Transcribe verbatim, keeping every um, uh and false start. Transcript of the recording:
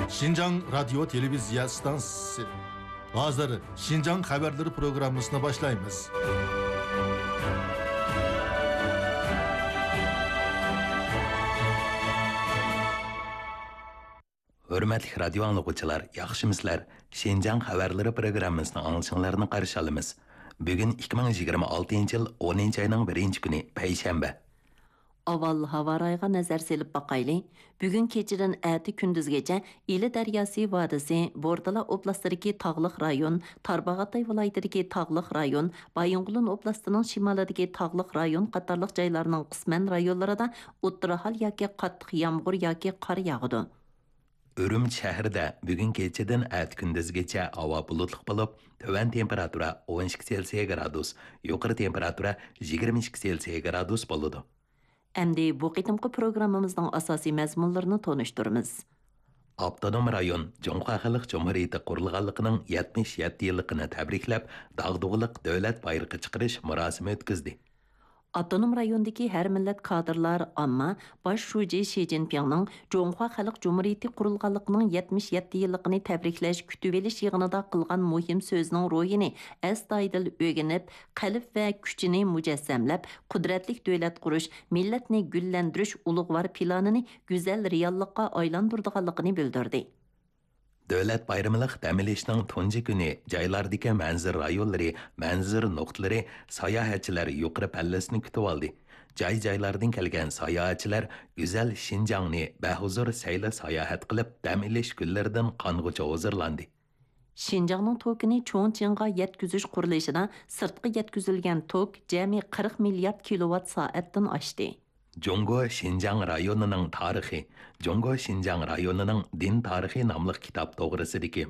شىنجاڭ رادىيو تېلېۋىزىيە ئىستانسىسى. ھازىر شىنجاڭ خەۋەرلىرى پروگراممىسىنى باشلايمىز. ھۆرمەتلىك رادىيو ئاڭلىغۇچىلار، ياخشىمۇسىلەر؟ شىنجاڭ خەۋەرلىرى پروگراممىسىنى ئاڭلىشىڭلارنى قارشى ئالىمىز. بۈگۈن ئىككى مىڭ يىگىرمە ئالتىنچى يىل ئونىنچى ئاينىڭ بىرىنچى كۈنى، پەيشەنبە. ئاۋۋال ھاۋا رايىغا نەزەر سېلىپ باقايلى. بۈگۈن كېچىدىن ئەتە كۈندۈزگىچە ئىلى دەرياسى ۋادىسى، بوردىلا ئوبلاستىدىكى تاغلىق رايون، تارباغاتاي ۋىلايىتىدىكى تاغلىق رايون، بايىنغولىن ئوبلاستىنىڭ شىمالىدىكى تاغلىق رايون قاتارلىق جايلارنىڭ قىسمەن رايونلىرىدا ئوتتۇرا ھال ياكى قاتتىق يامغۇر ياكى قار ياغىدۇ. ئۈرۈمچى شەھىرىدە بۈگۈن كېچىدىن ئەتە كۈندۈزگىچە ھاۋا بۇلۇتلۇق بولۇپ، تۆۋەن تېمپېراتۇرا ئون ئىككى سېلسىيە گرادۇس، يۇقىرى تېمپېراتۇرا يىگىرمە ئىككى سېلسىيە گرادۇس بولىدۇ. ئەمدى بۇ قېتىمقى پروگراممىمىزنىڭ ئاساسىي مەزمۇنلىرىنى تونۇشتۇرىمىز. ئاپتونوم رايون جۇڭخۇا خەلق جۇمھۇرىيىتى قۇرۇلغانلىقىنىڭ يەتمىش يەتتە يىللىقىنى تەبرىكلەپ، داغدۇغىلىق دۆلەت بايرىقى چىقىرىش مۇراسىمى ئۆتكۈزدى. ئاپتونوم رايوندىكى ھەر مىللەت كادىرلار، ئامما باش شۇجى شى جىنپىڭنىڭ جۇڭخۇا خەلق جۇمھۇرىيىتى قۇرۇلغانلىقىنىڭ يەتمىش يەتتە يىللىقىنى تەبرىكلەش كۈتۈۋېلىش يىغىنىدا قىلغان مۇھىم سۆزىنىڭ روھىنى ئەستايىدىل ئۆگىنىپ، قەلب ۋە كۈچىنى مۇجەسسەملەپ، قۇدرەتلىك دۆلەت قۇرۇش، مىللەتنى گۈللەندۈرۈش ئۇلۇغۋار پىلانىنى گۈزەل رېئاللىققا ئايلاندۇرىدىغانلىقىنى بىلدۈردى. دۆلەت بايرىملىق دەم ئېلىشنىڭ تۇنجى كۈنى جايلاردىكى مەنزىرە رايونلىرى، مەنزىرە نۇقتىلىرى، ساياھەتچىلەر يۇقىرى پەللىسىنى كۈتۈۋالدى. جاي-جايلاردىن كەلگەن ساياھەتچىلەر گۈزەل شىنجاڭنى بەھۇزۇر سەيلە ساياھەت قىلىپ، دەم ئېلىش كۈنلىرىدىن قانغۇچە ھۇزۇرلاندى. شىنجاڭنىڭ توكىنى چۇڭچىڭغا يەتكۈزۈش قۇرۇلۇشىدا سىرتقا يەتكۈزۈلگەن توك جەمئىي قىرىق مىليارد كىلوۋات سائەتتىن ئاشتى. جۇڭگو شىنجاڭ رايونىنىڭ تارىخى، جۇڭگو شىنجاڭ رايونىنىڭ دىن تارىخى ناملىق كىتاب توغرىسىدىكى